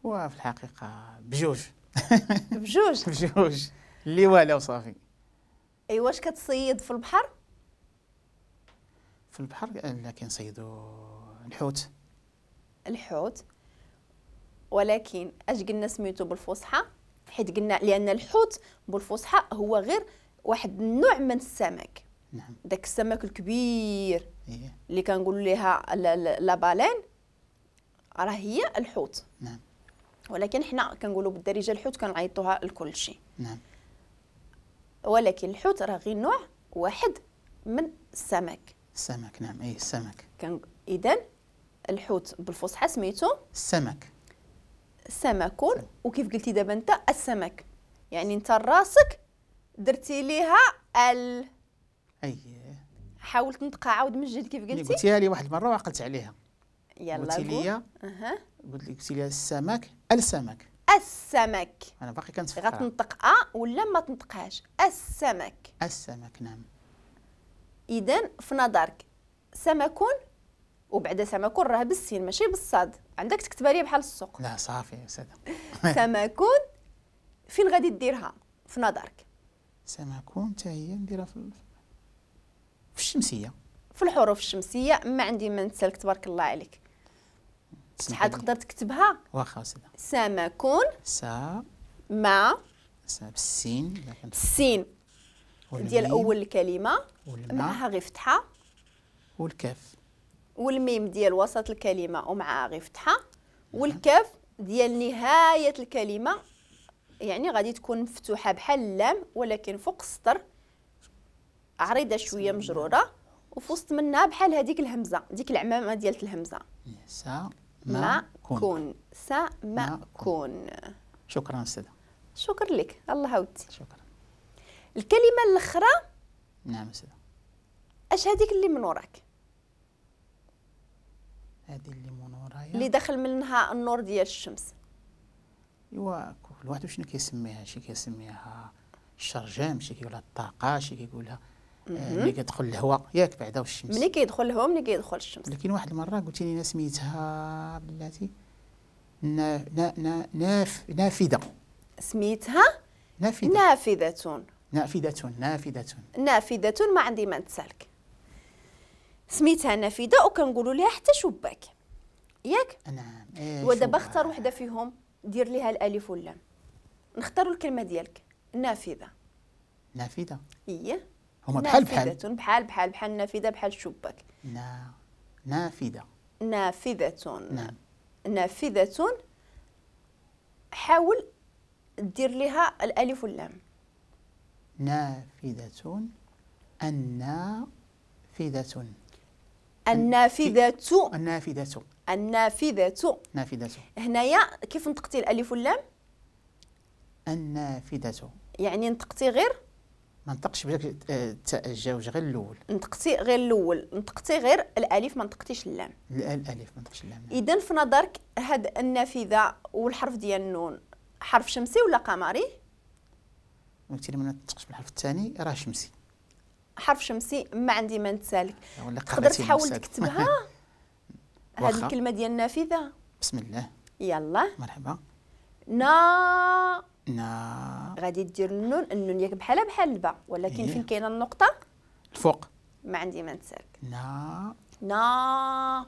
وفي الحقيقة بجوج. بجوج؟ بجوج اللي والو صافي. ايوا واش كتصيد في البحر؟ في البحر لا، كنصيدوا الحوت. الحوت، ولكن اش قلنا سميتو بالفصحى؟ حيت قلنا لان الحوت بالفصحى هو غير واحد النوع من السمك. نعم. داك السمك الكبير اللي كنقولوا ليها la baleine راه هي الحوت. نعم. ولكن حنا كنقولوا بالدارجة الحوت كنعيطوها لكل شيء. نعم. ولكن الحوت راه غير نوع واحد من السمك. السمك، نعم، اي السمك. اذا الحوت بالفصحى سميتو السمك. سمك. وكيف قلتي دابا انت السمك، يعني انت راسك درتي ليها ال. اييه. حاول تنطقها عاود من جديد كيف قلتي. قلتيها لي واحد المرة وعقلت عليها. يلا قلتي لي قلتي لي السمك، السمك. السمك. انا باقي كنتفكر. غتنطق ا ولا ما تنطقهاش؟ السمك. السمك، نعم. اذا في نظرك سمك، وبعد سمك راه بالسين ماشي بالصاد، عندك تكتبها لي بحال السوق. لا صافي يا استاذه. سمك فين غادي ديرها في نظرك؟ سمك حتى هي نديرها في الشمسية، في الحروف الشمسية. ما عندي ما نتسالك، تبارك الله عليك. شحال تقدر تكتبها؟ واخا استاذه. سمك سا ما سا بالسين، السين ديال اول الكلمة معها غير فتحه، والكاف والميم ديال وسط الكلمة ومعها غير فتحه، والكاف ديال نهاية الكلمة، يعني غادي تكون مفتوحة بحال اللام ولكن فوق السطر، عريضة شوية مجرورة، وفي وسط منها بحال هذيك الهمزة، ديك العمامة ديال الهمزة. سا ما كون. سا ما كون. شكرا استاذه. شكرا لك، الله ودي. شكرا. الكلمة الاخرى. نعم استاذه. اش هذيك اللي من وراك؟ هذه اللي من ورايا اللي دخل منها النور ديال الشمس. ايوا كل واحد شنو كيسميها، شي كيسميها الشرجام، شي كيقولها الطاقة، شي كيقولها ملي كيدخل الهواء، ياك بعدا والشمس. ملي كيدخل الهواء، ملي كيدخل الشمس. لكن واحد المرة قلتي لي سميتها بلاتي نا نا ناف نافذة. سميتها نافذة. نافذة. نافذة. نافذة. نافذة، ما عندي ما نتسالك. سميتها نافذة وكنقولوا لها حتى شباك، ياك؟ نعم. إيه ودابا اختار وحده فيهم دير ليها الالف واللام. نختاروا الكلمة ديالك. نافذة. نافذة. ايه هما بحال بحال. بحال بحال بحال نافذة بحال الشباك. نافذة. نافذة. نعم. نافذة. حاول دير لها الالف واللام. نافذة. النافذة. النافذة. النافذة. النافذة. نافذة. هنايا كيف نطقتي الألف واللام؟ النافذة. يعني نطقتي غير؟ ما نطقش بداك الجوج، غير الأول. نطقتي غير الأول، نطقتي غير الألف ما نطقتيش اللام. الألف ما نطقتش اللام. إذا في نظرك هاد النافذة والحرف ديال النون حرف شمسي ولا قمري؟ قلتي لي ما نطقش بالحرف الثاني راه شمسي. حرف شمسي، ما عندي ما نتسالك. تقدر تحاول تكتبها هذه الكلمة ديال النافذة؟ بسم الله. يلا مرحبا. نا نا غادي دير النون، النون ياك بحالها بحال الباء، ولكن فين كاينه النقطة؟ الفوق. ما عندي ما نتسالك. نا نا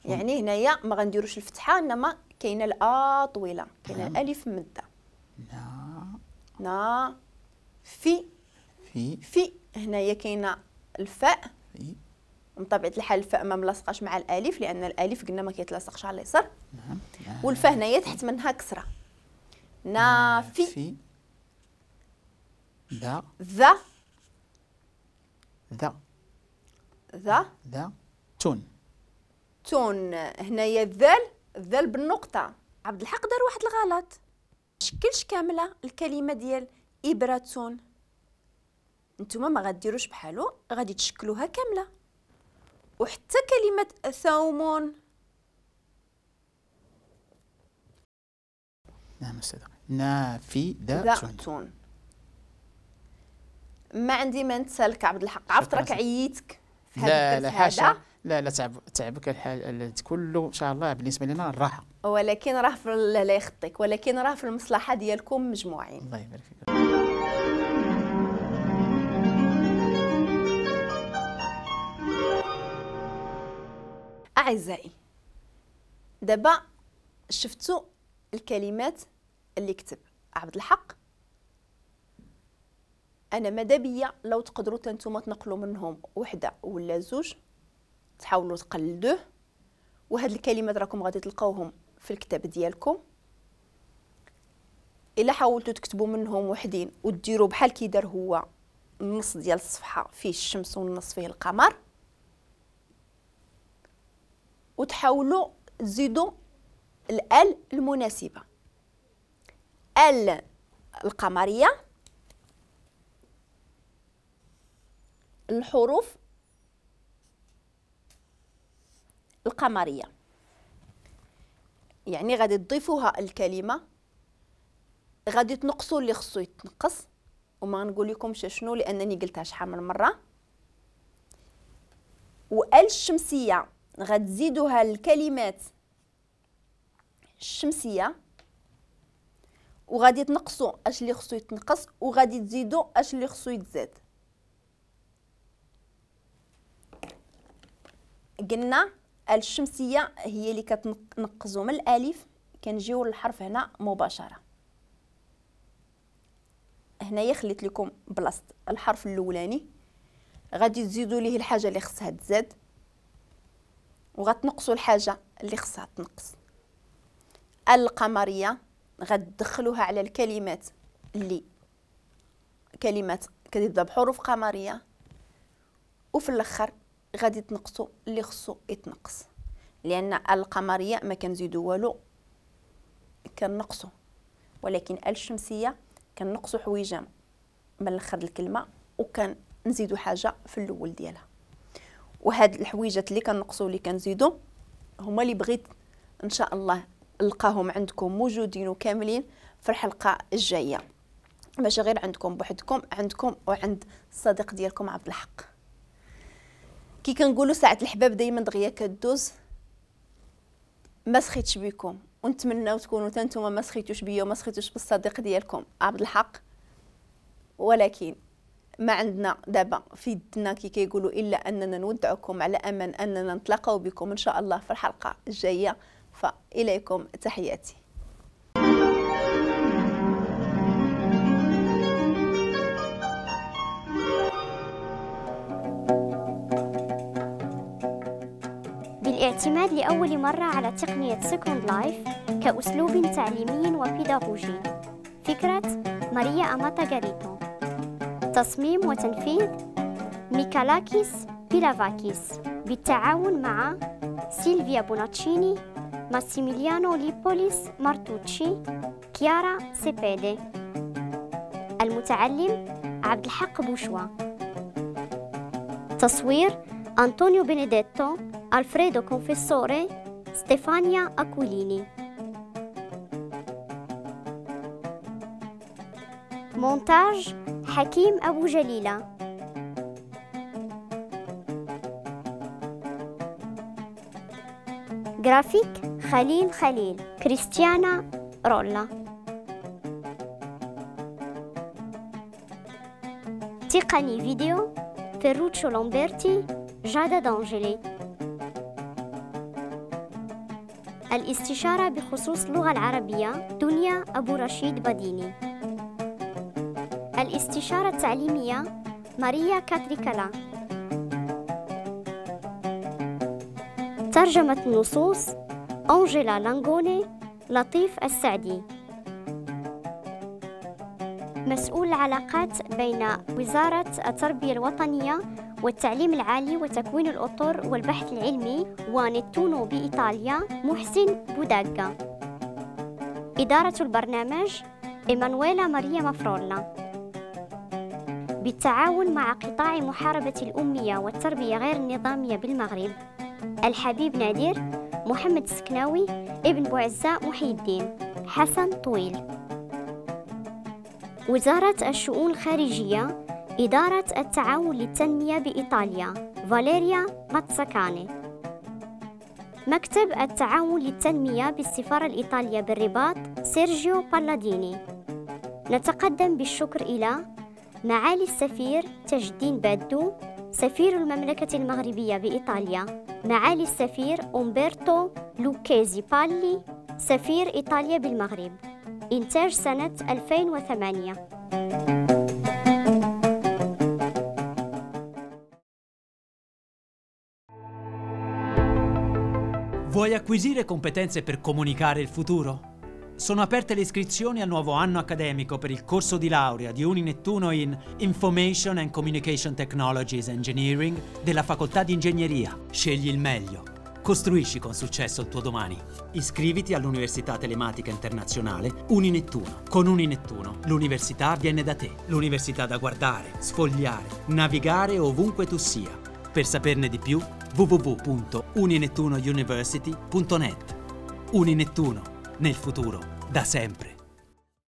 يعني هنايا ما غنديروش الفتحة، انما كاينه الأ طويلة، كاينه الألف ممدة. نا نا في في في هنايا كاينه الفاء. في من طبيعة الحال الفاء ما ملاصقاش مع الالف، لان الالف قلنا ما كيتلاصقش على اليسار. نعم. والفاء هنايا تحت منها كسره. نافي في ذا ذا ذا ذا ذا تون تون. هنايا الذال، الذال بالنقطة. عبد الحق دار واحد الغلط، شكلش كاملة الكلمة ديال ابره. نتوما ما غديروش بحالو، غادي تشكلوها كاملة. وحتى كلمة ثوم. نعم استاذه. نافذة. ما عندي ما نتسالك عبد الحق، عرفت راك عييتك في هذا. لا لا حاشا، لا لا تعبك الحال كله ان شاء الله بالنسبة لنا الراحة، ولكن راه في لا يخطيك، ولكن راه في المصلحة ديالكم مجموعين. الله يبارك فيك. اعزائي دابا شفتوا الكلمات اللي كتب عبد الحق. انا ماذا بيا لو تقدروا نتوما تنقلوا منهم وحده ولا زوج، تحاولوا تقلدوه. وهاد الكلمات راكم غادي تلقاوهم في الكتاب ديالكم. الا حاولتوا تكتبوا منهم وحدين وديروا بحال كي دار هو، النص ديال الصفحة فيه الشمس والنص فيه القمر، وتحاولوا تزيدوا الال المناسبة، ال القمريه، الحروف القمريه، يعني غادي تضيفوها الكلمة، غادي تنقصوا اللي خصو يتنقص، وما نقول لكمش شنو لانني قلتها شحال من مرة. وال الشمسية غتزيدوها الكلمات الشمسية، وغادي تنقصوا اش اللي خصو يتنقص، وغادي تزيدوا اش اللي خصو يتزاد. قلنا الشمسية هي اللي كتنقزوا من الالف، كنجيو للحرف هنا مباشرة. هنايا خليت لكم بلاصة الحرف الاولاني، غادي تزيدوا ليه الحاجة اللي خصها تزاد، وغتنقصوا الحاجة اللي خصها تنقص. القمريه غتدخلوها على الكلمات اللي كلمات كتبدا بحروف قمريه، وفي الاخر غادي تنقصوا اللي خصو يتنقص، لان القمريه ما كنزيدو والو كنقصوا، ولكن الشمسية كنقصوا حويجه من الاخر الكلمة وكنزيدو حاجة في الاول ديالها. وهاد الحويجات اللي كنقصوا اللي كنزيدو هما اللي بغيت ان شاء الله نلقاهم عندكم موجودين وكاملين في الحلقة الجاية، ماشي غير عندكم بوحدكم، عندكم وعند الصديق ديالكم عبد الحق. كي كنقولوا ساعة الحباب دائما دغيا كدوز، ما سخيتش بكم، ونتمناو تكونوا حتى نتوما ما سخيتوش بيا وما سخيتوش بالصديق ديالكم عبد الحق. ولكن ما عندنا دابا في يدنا كي كيقولوا الا اننا نودعكم على امل اننا نتلاقاو بكم ان شاء الله في الحلقة الجاية. فاليكم تحياتي. بالاعتماد لأول مرة على تقنية Second Life كأسلوب تعليمي وبيداغوجي. فكرة ماريا أماتا غاريتو. تصميم وتنفيذ ميكالاكيس بيلافاكيس بالتعاون مع سيلفيا بوناتشيني، ماسيميليانو ليبوليس مارتوتشي، كيارا سيبيدي. المتعلم عبد الحق بوشوا. تصوير أنطونيو بينيديتو، ألفريدو كونفيسوري، ستيفانيا أكوليني. مونتاج حكيم أبو جليلة. جرافيك خليل خليل، كريستيانا رولا. تقني فيديو فيروتشو لامبرتي، جادا دانجلي. الاستشارة بخصوص اللغة العربية دنيا أبو رشيد بديني. الاستشارة التعليمية ماريا كاتريكالا. ترجمة النصوص أنجيلا لانغوني، لطيف السعدي. مسؤول العلاقات بين وزارة التربية الوطنية والتعليم العالي وتكوين الأطر والبحث العلمي ونتونو بإيطاليا محسن بوداغا. إدارة البرنامج إيمانويلا ماريا مافرولا. بالتعاون مع قطاع محاربة الأمية والتربية غير النظامية بالمغرب، الحبيب نادر، محمد السكناوي، ابن بوعزة محي الدين، حسن طويل. وزارة الشؤون الخارجية، إدارة التعاون للتنمية بإيطاليا، فاليريا ماتساكاني. مكتب التعاون للتنمية بالسفارة الإيطالية بالرباط سيرجيو بالاديني. نتقدم بالشكر إلى معالي السفير تاج الدين بادو سفير المملكة المغربية بإيطاليا، معالي السفير أومبرتو لوكيزي بالي سفير إيطاليا بالمغرب. إنتاج سنة 2008. Vuoi acquisire competenze per comunicare il futuro? Sono aperte le iscrizioni al nuovo anno accademico per il corso di laurea di Uninettuno in Information and Communication Technologies Engineering della Facoltà di Ingegneria. Scegli il meglio. Costruisci con successo il tuo domani. Iscriviti all'Università Telematica Internazionale Uninettuno. Con Uninettuno l'università viene da te. L'università da guardare, sfogliare, navigare ovunque tu sia. Per saperne di più www.uninettunouniversity.net. Uninettuno, nel futuro, da sempre.